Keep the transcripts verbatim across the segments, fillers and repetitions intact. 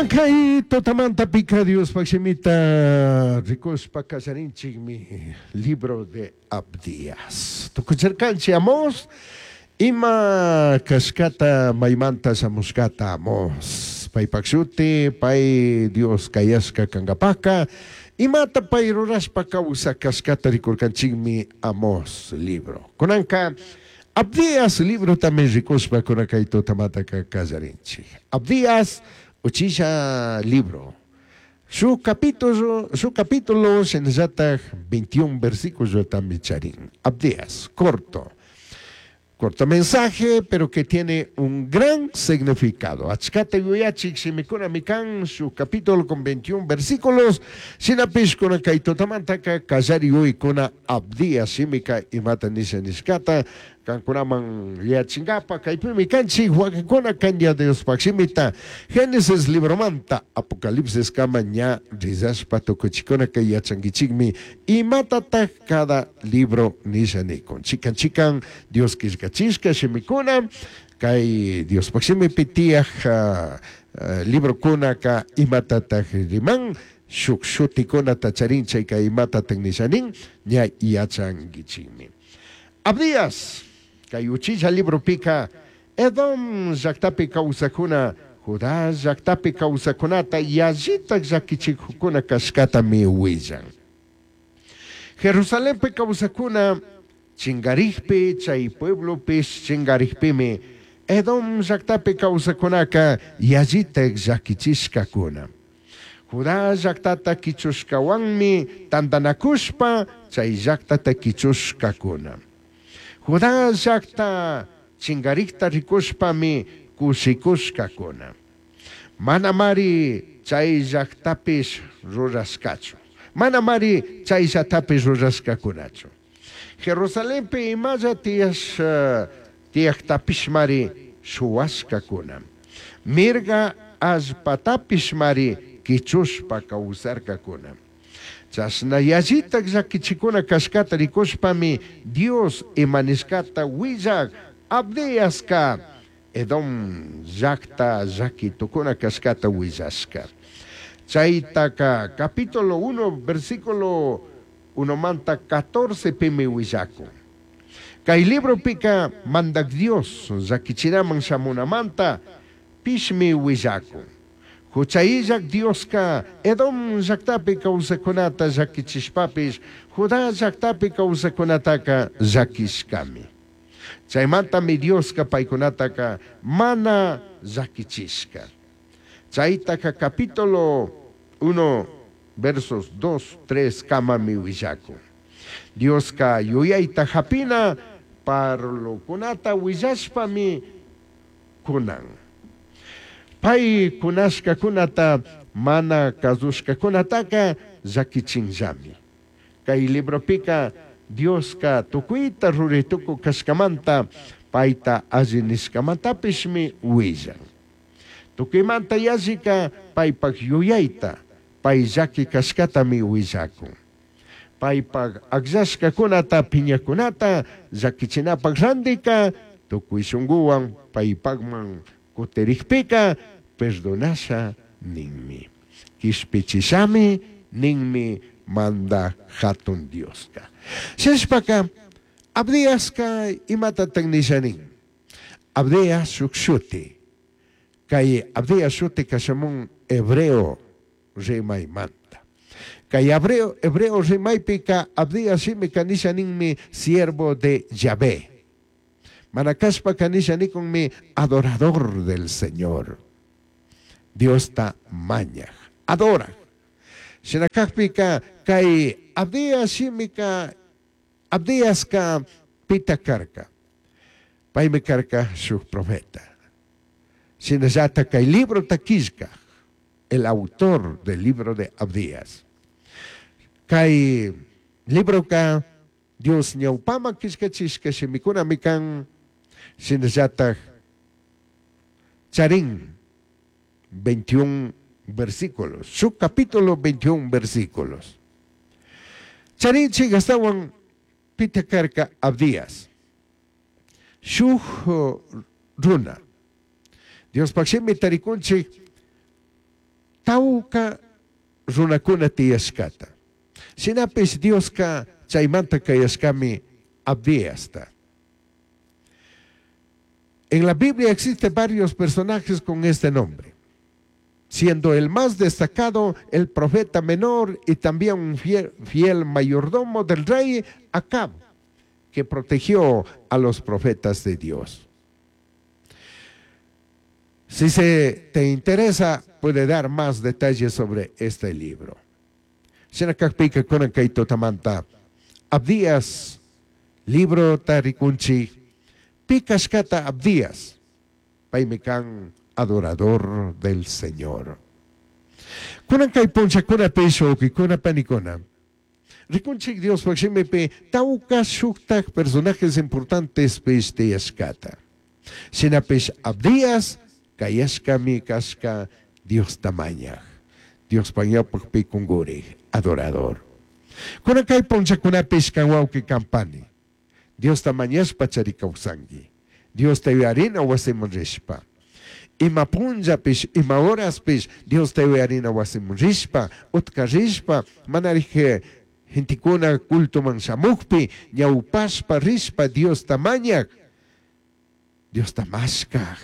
Kay tutamanta pika Diospaj shimita rikushpa kallarinchikmi libro de Abdías. Tukuchirkanchik Amós ima kashkata maymanta shamushkata Amós. Paypak shuti pay Dios kayashka kankapaka imata pay rurashpa kawsak kashkata rikurkanchikmi Amós libro. Kunanka Abdías librotami rikushpa kuna kay tutamantaka kallarinchik. Abdías uchilla libro. Su capítulo, su capítulo shinallatak veintiún versículos también charin. Abdías, corto. Corto mensaje, pero que tiene un gran significado. Achkata yuyachik shimikuna mikan, su capítulo con veintiún versículos. Shinapish kuna kay tutamantaka kallari yuykuna Abdías shimika imata nisha nishkata. Kankunaman yachingapa kaypimi kanchik wakinkuna kanya Diospaj shimita. Génesis libromanta Apocalipsis kama ña rizashpa tukuchikuna kay yachankichikmi imatataj cada libro nisha nikun. Chikan chikan Dios killkachishka shimikuna kay Diospaj shimipi tiyaj, uh, uh, librokuna ka imatataj riman shuk shutikunata charin chayka imatataj nisha nin ña yachankichikmi. Abdías kay uchilla libropika Edom llaktapi kawsakuna Judá llaktapi kawsakunata yallitak llakichikukuna kashkatami willan. Jerusalenpi kawsakuna chingarikpi chay pueblopish chingarikpimi Edom llaktapi kawsakunaka yallitak llakichishkakuna. Judá llaktata kichushkawanmi tantanakushpa chay llaktata kichushkakuna. Judá llakta chingarikta rikushpami kushikushkakuna. Manamari chay llaktapish rurashkachu. Manamari chay llaktapish rurashkakunachu. Jerusalenpi imalla tiyash, uh, tiyaktapishmari shuwashkakuna. Mirga allpatapishmari kichushpa kawsarkakuna. Chashna yallitak llakichikuna kashkata rikushpami Dios imanishkata willak Abdiaska Edom llakta llakitukuna kashkata willashka. Chaytaka capítulo uno versículo uno manta catorce pimi willakun. Kay libropika mandak Dios llakichinaman shamunamanta pishmi willakun. Huchayillak Dioska Edom llaktapi kawsakunata llakichishpapish Judá llaktapi kawsakunataka llakishkami. Chaymantami Dioska paykunataka mana llakichishka. Chaytaka capítulo uno versos dos, tres kamami willakun. Dioska yuyayta hapina parlokunata willashpami kunan. Pay kunashkakunata mana kasushkakunataka llakichinllami. Kay libropika Dioska tukuyta ruraytuku kashkamanta payta alli nishkamantapishmi willan. Tukuymanta yallika paypak yuyayta pay llaki kashkatami willakun. Paypak akllashkakunata piñakunata llakichinapak randika tukuy shunkuwan paypakman kutirikpika perdonasha ninmi. Kishpichishami ninmi manda hatun Dioska. Shishpaka Abdiaska imatataq nisha nin. Abdias shuk shuti. Kay Abdias shuti kashamun hebreo rimaymanta. Kay hebreo, hebreo rimaypika Abdias shimika nisha ninmi siervo de Yahvé. Manakashpaka nisha nikunmi adorador del Señor. Diosta mañaj, adora. Shinakajpika kay Abdias shimika Abdiaska pita karka. Paymi karka shuk profeta. Shinallata kay libro takishka, el autor del libro de Abdías. Kay libro ka Dios ñawpama kishkachishka shimikuna mikan shinallata charin veintiún versículos, su capítulo veintiún versículos. Charinchi gastawan pita karka Abdías. Shuj runa. Diospaj shimi tarikunchik tauka runakuna tiyashkata. Shinapish Dioska chaymanta kayashkami Abdiasta. En la Biblia existen varios personajes con este nombre, siendo el más destacado el profeta menor y también un fiel, fiel mayordomo del rey Acab, que protegió a los profetas de Dios. Si se te interesa, puede dar más detalles sobre este libro. Abdías, libro tarikunchi, pi cashcata Abdías, paymi kan adorador del Señor. Kunan kay punllakunapish wawqikuna panikuna. Rikunchik Diospaj shimipi tawka shuktak personajes importantes pish tiyashkata. Shinapish Abdías kayashkami kashka Diosta mañaj. Diospaj ñawpakpi kungurik, adorador. Kunan kay punllakunapish kan wawqi kan pani. Diosta mañashpa chari kawsanki. Diosta yuyarina wasiman rishpa. Ima punllapish, ima horaspish, Diosta yuyarina wasiman rishpa, utka rishpa, manarije gentekuna cultoman shamukpi, ñawpashpa rishpa Diosta mañak, Diosta mashkaj.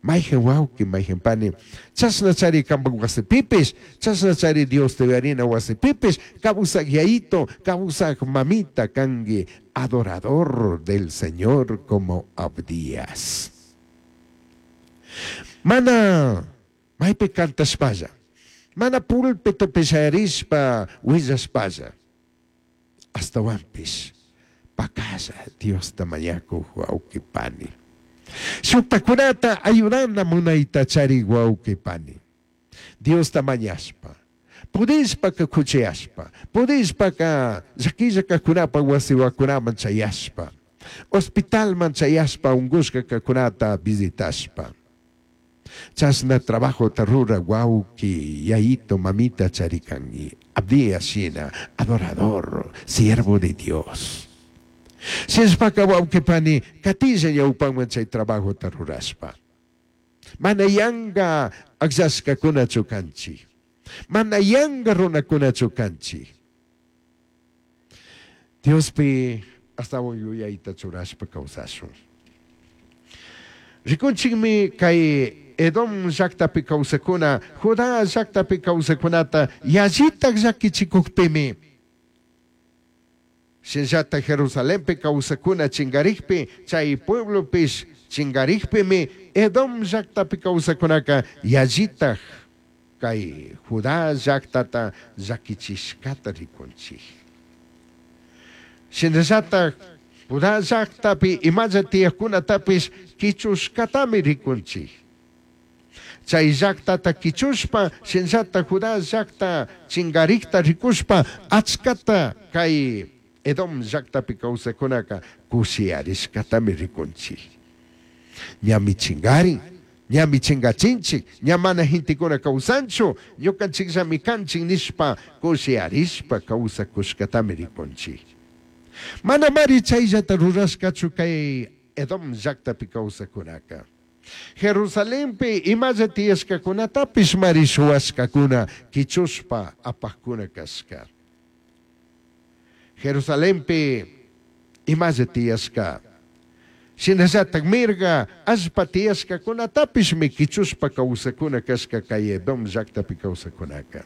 Mayhan wawqi, mayhan pani, chashna chari kanpak wasipipish, chashna chari Diosta yuyarina wasipipish, kawsak yayito, kawsak mamita kanki, adorador del Señor como Abdías. Mana maypi cantashpalla, mana púlpitopi shayarishpa willashpalla, ashtawanpish pakalla Diosta mañakuj wawqi pani. Shuktakunata ayudana munayta chari wawqi pani. Diosta mañashpa, pudishpaka kuchiyashpa, pudishpaka llakilla kajkunapa wasiwakunaman chayashpa, hospitalman chayashpa unkushka kajkunata visitashpa. Chashna trabajota rura wawqi, yayito, mamita charikanki. Abdías shina, adorador, siervo de Dios. Shinashpaka wawqi pani, katilla ñawpaman chay trabajota rurashpa. Mana yanga akllashkakunachu kanchik. Mana yanga runakunachu kanchik. Diospi ashtawan yuyayta churashpa kawsashun. Rikunchikmi kay Edom llaktapi kawsakuna, Judá llaktapi kawsakunata yallitak llakichikukpimi. Shinallata Jerusalenpi kawsakuna chingarikpi, chay pueblopish chingarikpimi, Edom llaktapi kawsakunaka yallitak kay Judá llaktata llakichishkata rikunchik. Shinallata Judá llaktapi imalla tiyakkunatapish kichushkatami rikunchik. Chay llaktata kichushpa, shinallata Judá llakta chingarikta rikushpa, achkata kay Edom llaktapi kawsakunaka kushiyarishkatami rikunchik. Ñami chingarin, ñami chingachinchik, ña mana gentekuna kawsanchu, ñukanchikllami kanchik nishpa kushiyarishpa kawsakushkatami rikunchik. Mana mari chayllata rurashkachu kay Edom llaktapi kawsakunaka. Jerusalenpi imalla tiyashkakunatapish mari shuwashkakuna kichushpa apajkuna kashka. Jerusalenpi imalla tiyashka. Shinallatak mirga allpa tiyashkakunatapishmi kichushpa kawsakuna kashka kay Edom llaktapi kawsakunaka.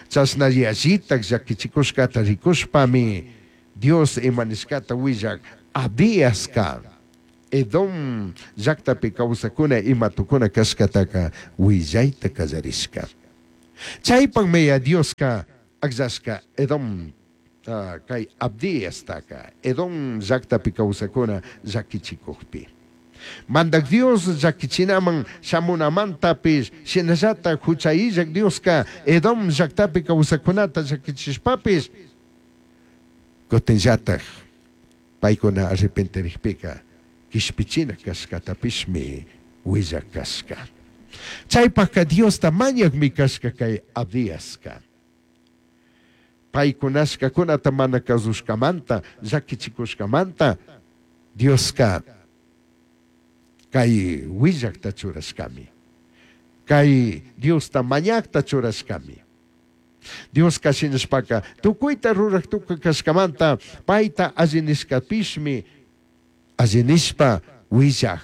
Chashna yallitak llakichikushkata rikushpami Dios imanishkata willak Abdiaska Edom llaktapi kawsakuna ima tukuna kashkataka willayta kallarishka. Chaypakmi ya Dioska akllashka Edom uh, kay Abdiastaka Edom llaktapi kawsakuna llakichikukpi. Mandak Dios llakichinaman shamunamantapish shinallata huchayillak Dioska Edom llaktapi kawsakunata llakichishpapish kutinllatak paykuna arrepentirikpika kishpichina kashkatapishmi willak kashka. Chaypakka Diosta mañakmi kashka kay Abdiaska. Paykunashkakunata mana kasushkamanta, llakichikushkamanta, Dioska kay willakta churashkami. Kay Diosta mañaqta churashkami. Dioska shinashpaka tukuyta ruraq tukuy kashkamanta payta alli nishkapishmi alli nishpa willaq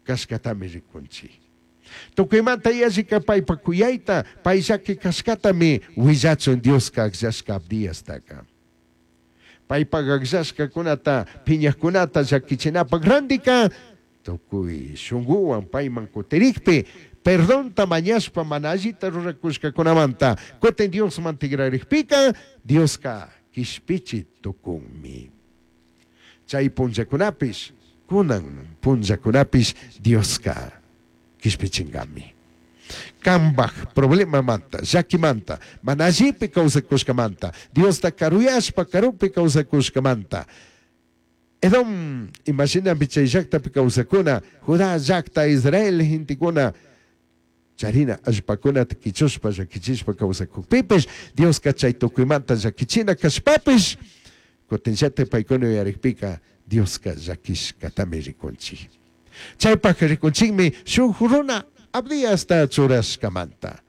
kashkatami rikunchik. Tukuymanta yallika paypa kuyayta pay llaki kashkatami willachun Dioska akllashka Abdiastaka. Paypak akllashkakunata piñaqkunata llakichinapaq randika tukuy shunkuwan payman kutirikpi perdonta mañashpa mana allita rurakushkakunamanta kutin Diosman tigrarikpika Dioska kishpichi tukunmi. Chay punllakunapish kunan punllakunapish Dioska kishpichinkami. Kanpaj problemamanta, llakimanta, mana allipi kawsakushkamanta, Diosta karuyashpa karupi kawsakushkamanta. Edom, imaginapi chay llaktapi kawsakuna, Judá llakta, Israel gentekuna, charina allpakunata kichushpa llakichishpa kawsakukpipish, Dioska chay tukuymanta llakichina kashpapish, kutinllata paykuna yuyarikpika Dioska llakishkatami rikunchik. Chaypaq rikunchikmi shuk runa Abdiasta churashkamanta.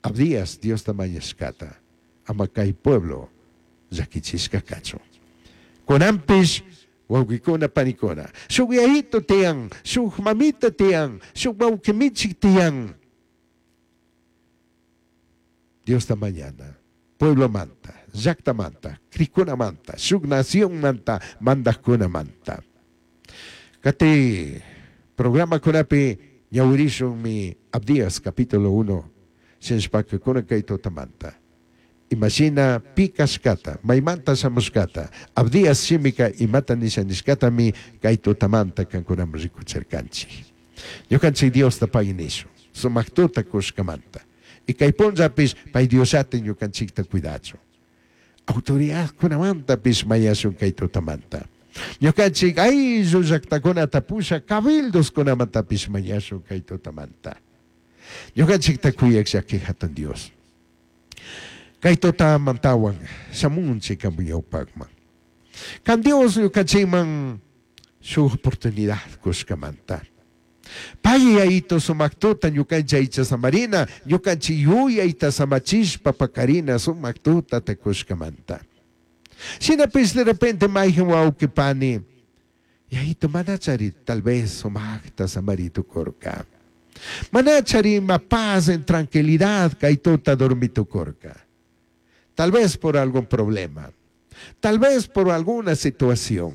Abdías Diosta mañashkata ama kay pueblo llakichishka kachun. Kunanpish wawqikuna panikuna shuk yayito tiyan, shuk mamita tiyan, shuk wawqimichik tiyan. Diosta mañana, pueblomanta, llaktamanta, crikunamanta, shuk nacionmanta, mandajkunamanta. Kati programa kunapi ñawirishun mi Abdías capítulo uno, shinashpaka kunan kay tutamanta. Imashina pi kashkata, maymanta shamushkata, Abdías shimika imata nisha nishkatami kay tutamanta kankunaman rikuchirkanchik. Ñukanchik Diosta pagui nishun, sumak tuta kushkamanta. Y kay punllapish pay Diosllata ñukanchikta cuidachun. Autoridadkunamantapis mañashun kay tutamanta. Ñukanchik ayllu llaktakunata pusha cabildoskunamantapis mañashun kay tutamanta. Ñukanchikta kuyak llaki hatun Dios. Kay tutamantawan shamunchik kamuyawpakman. Kan Dios ñukanchikman shuk oportunidad kushkamanta. Pay yayito sumak tuta ñukanchik aycha samarina, ñukanchik yuyayta samachishpa pakarina sumak tuta takushkamanta. Shinapish de repente mayhan wawqi pani, yayito manachari tal vez sumakta samaritukurka. Manachari ima paz en tranquilidad kay tuta dormitukurka. Tal vez por algún problema, tal vez por alguna situación,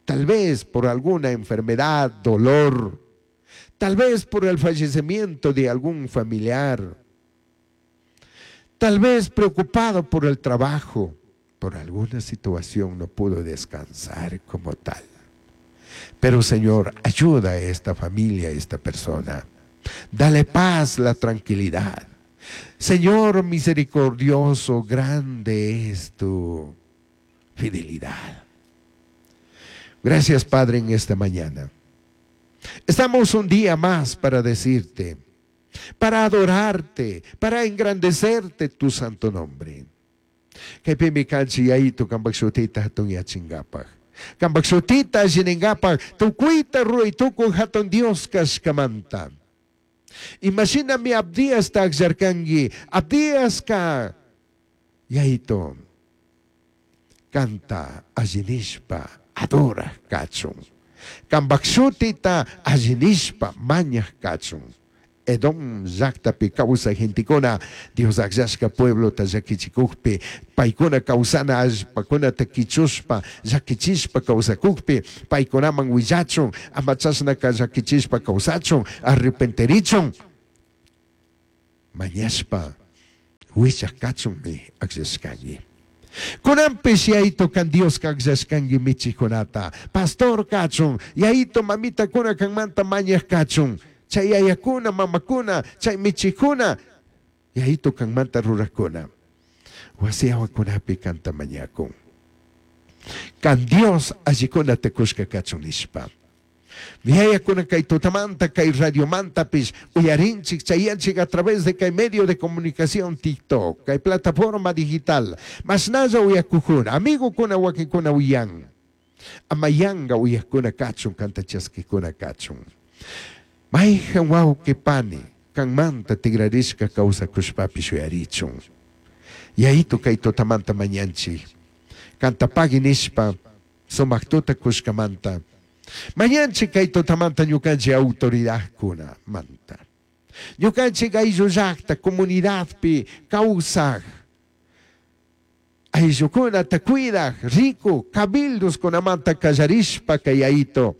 tal vez por alguna enfermedad, dolor, tal vez por el fallecimiento de algún familiar, tal vez preocupado por el trabajo, por alguna situación no pudo descansar como tal. Pero Señor, ayuda a esta familia, a esta persona. Dale paz, la tranquilidad. Señor misericordioso, grande es tu fidelidad. Gracias, Padre, en esta mañana. Estamos un día más para decirte, para adorarte, para engrandecerte tu santo nombre. Kaypimi kanchik yayito kanpak shutita hatun yachinkapak. Kanpak shutita allininkapak tukuyta ruray tukuy hatun Dios kashkamanta. Imashinami Abdiasta akllarkanki, Abdiaska yayito kanta allinishpa adoraq kachun. Kanpak shutita allinishpa mañaq kachun. Edom llaktapi kawsay gentekuna Dios akllashka pueblota llakichikukpi, paykuna kawsana allpakunata kichushpa llakichishpa kawsakukpi, paykunaman willachun, ama chashnaka llakichishpa kawsachun, arrepenterichun, mañashpa willaq kachunmi akllashkanki. Kunanpish yayito kan Dioska akllashkanki michikunata, pastor kachun, yayito mamitakuna kanmanta mañaq kachun, chay yayakuna, mamakuna, chay michikuna, yayito kanmanta rurakuna. Wasi awakunapi kanta mañakun. Kan Dios allikuna tekushka kachun nishpa. Yayakuna kay tutamanta, kay radiomantapis, uyarinchik, chayanchik a través de kay medio de comunicación TikTok, kay plataforma digital, masnalla uyakujuna, amigokuna wakinkuna uyan. Amayanga uyakuna kachun, kanta chaskikuna kachun. Maijan wawqi pani kanmanta tigrarishka kawsakushpapish yuyarichun. Yayitu kay tutamanta mañanchik. Kanta pagui nishpa sumak tuta kushkamanta. Mañanchik kay tutamanta ñukanchik autoridadkunamanta. Ñukanchik ayllu llakta comunidadpi kawsaj ayllukunata cuidaj riku cabildoskunamanta kallarishpa kay Yayito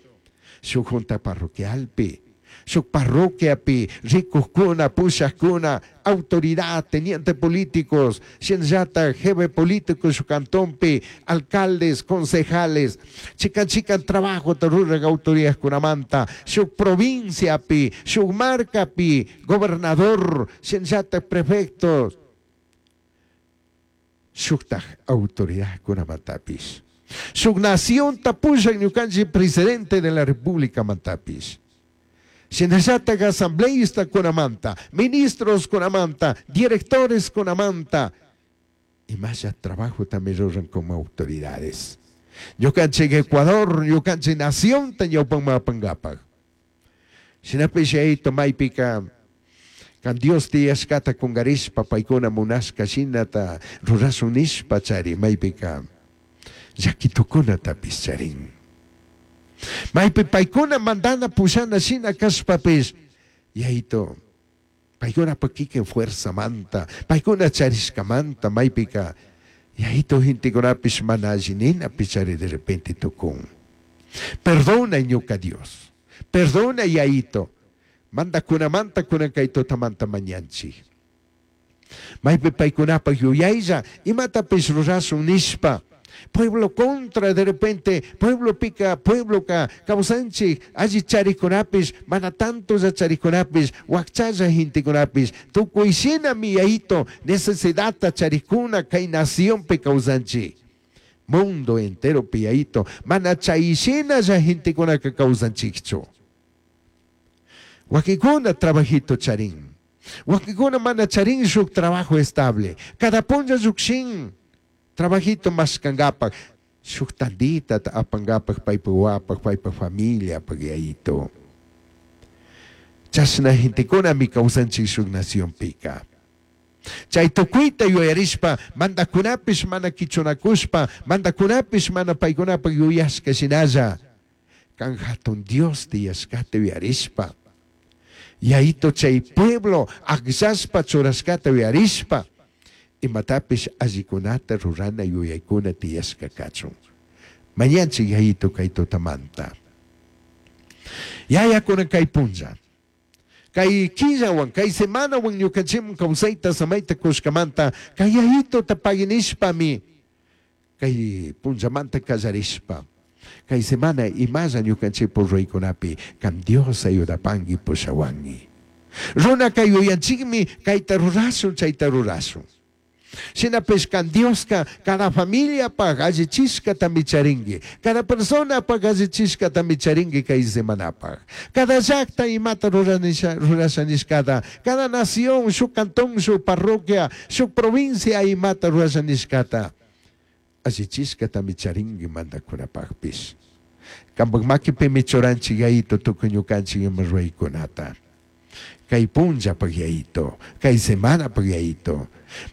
shuk junta parroquialpi shuk parroquiapi rikukuna pushakuna autoridad teniente políticos shinallata jefe político shuk cantonpi alcaldes concejales chikan chikan trabajota rurak autoridadkunamanta shuk provinciapi shuk marcapi gobernador shinallata prefectos shuktaj autoridadkunamantapish shuk nacionta pushak ñukanchik presidente de la república mantapish shinallatak asambleísta kunamanta ministros kunamanta directores kunamanta imalla trabajo también ruran como autoridades ñukanchik Ecuador ñukanchik nacionta ñawpanman apankapak shinapish yayito maypika kan Dios tiyashkata kungarishpa paykuna munashka shinata rurashun nishpa chari maypika llakitukunatapish charin maypi paykuna mandana pushana shina kashpapish yayito paykunapa kikin fuerzamanta paykuna charishkamanta maypika yayito gentekunapish mana alli ninapi chari de repente tukun. Perdona ñuka Dios, perdona yayito mandakunamanta kunan kay tutamanta mañanchik. Maypi paykunapak yuyaylla imatapish rurashun nishpa pueblo contra de repente pueblo pica pueblo ka kawsanchik alli charikunapish mana tanto charikunapish wakchalla gentekunapish tukuy shinami yayito necesidadta charikuna kay nacionpi kawsanchik mundo entero yayito mana chay shinalla gentekunaka kawsanchikchu. Wakinkuna trabajito charin wakinkuna mana charin shuk trabajo estable cada punlla llukshin trabajito mashkankapak shuk tandita apankapak paypak wapak paypak familiapak yayito. Chashna gentekunami kawsanchik shuk nacionpika. Chay tukuyta yuyarishpa mandakunapish mana kichunakushpa mandakunapish mana paykunapak yuyashka shinalla kan hatun Dios tiyashkata yuyarishpa yayito chay pueblo akllashpa churashkata yuyarishpa imatapish allikunata rurana yuyaykuna tiyashka kachun. Mañanchik yayito kay tutamanta. Yayakuna kay punlla kay killawan kay semanawan ñukanchikman kawsayta samayta kushkamanta kay yayitota paginishpami kay punllamanta kallarishpa kay semana imalla ñukanchikpuk ruraykunapi kan Dios ayudapanki pushawanki. Runa kay yuyanchikmi kayta rurashun chayta rurashun. Shinapish kan Dioska cada familiapak allichishkatami charinki cada personapak allichishkatami charinki kay semanapak cada llakta imata ruranisha rurasha nishkata cada nación shuk cantón shuk parroquia shuk provincia imata rurasha nishkata allichishkatami charinki mandakunapakpish kampak makipimi churanchik yayito tukuy ñukanchik ima ruraykunata kay punllapak yayito kay semanapak yayito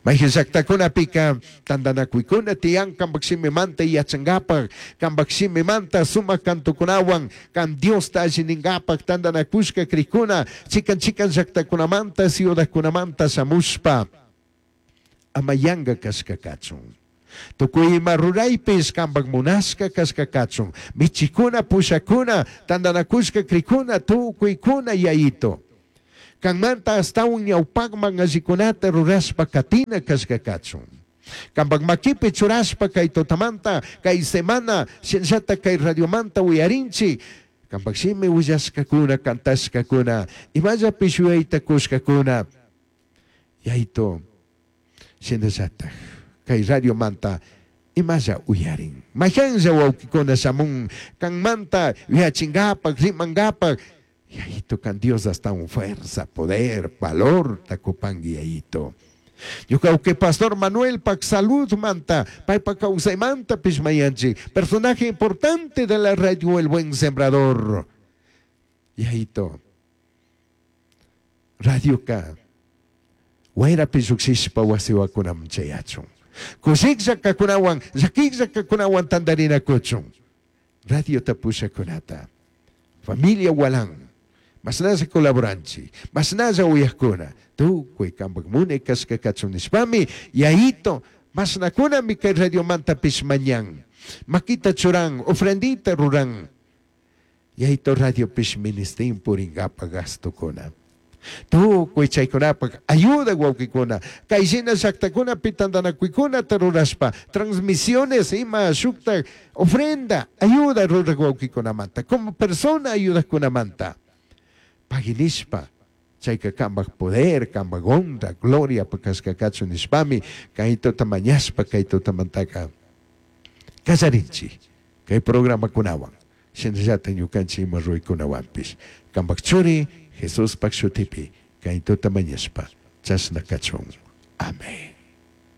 mayqin llaqtakunapika tantanakuykuna tiyan kampak shimimanta yachankapak kampak shimimanta sumak kantukunawan kan Diosta allininkapak tantanakushka krikuna chikan chikan llaqtakunamanta ciudadkunamanta shamushpa ama yanka kashka kachun. Tukuy ima ruraypish kampak munashka kashka kachun michikuna pushakuna tantanakushka krikuna tukuykuna yayito kanmanta astawan ñawpakman allikunata rurashpa katina kashka kachun. Kampak makipi churashpa kay tutamanta kay semana shinallata kay radiomanta uyarinchik kampak shimi willashkakuna kantashkakuna imallapish yuyayta kushkakuna yayito shinallatak kay radiomanta imalla uyarin mayqanlla wawqikuna shamun kanmanta yuyachinkapak rimankapak yayito kan Dios hasta un fuerza, poder, valor takupanki yayito. Ñuka uke pastor Manuel pak salud manta, paypa kawsaymanta pish mayanchik, personaje importante de la radio El Buen Sembrador. Yayito, Radioka wayrapi llukshishpa wasiwakunaman chayachun. Kushiklla kakunawan, llakiklla kakunawan tantarinakuchun. Radiota pushakunata. Familia Walan. Mashnalla colaboranchik, mashnalla uyakuna. Tukuy kampak munay kashka kachun nishpami, Yayito, mashnakunami kay radiomantapish mañan. Makita churan, ofrendita ruran. Yayito radiopish ministin puringapa gastukuna. Tukuy chaykunapak ayuda wawkikuna. Kay shina llaktakunapi tantanakuykunata rurashpa, transmisiones ima shukta ofrenda, ayuda rurak wawkikunamanta, como persona ayudakunamanta. Paginishpa, chayka kampak poder, kampak honra, gloria kashka kachun nishpami, kay tuta mañashpa, kay tutamantaka kallarinchik kay programakunawan. Shinallata ñukanchik ima ruraykunawanpish. Kampak churi Jesuspak shutipi kay tuta mañashpa chashna kachun.